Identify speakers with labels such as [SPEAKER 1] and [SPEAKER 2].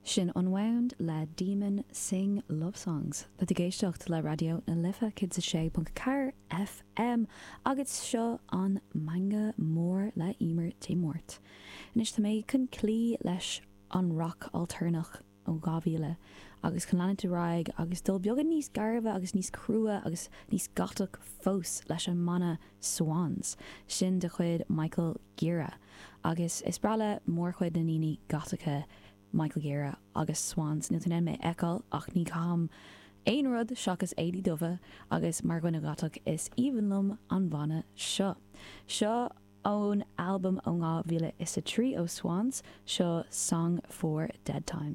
[SPEAKER 1] Sin Unwound le Demon Sing Love Songs. Tá tú ag éisteacht le Raidió na Life 106.4 FM agus seo an Meangadh Mór le Emer Dé Máirt. Anois tá mé chun cloí leis an rac altarnach ó 2000 agus chun leanúint ar aghaidh agus dul beagán níos gairbhe agus níos crua agus níos gotach fós leis an mbanna Swans, sin de chuid Michael Gira. Agus is breá le mórchuid na ndaoine gotacha Michael Gira agus Swans. Níl tú in ann mé a fheiceáil ach ní chaithim aon rud seachas éadaí dubha agus mar dhuine gotach is aoibhinn liom an banna seo. Seo ón albam ó 2003 ó Swans, seo Song for Dead Time.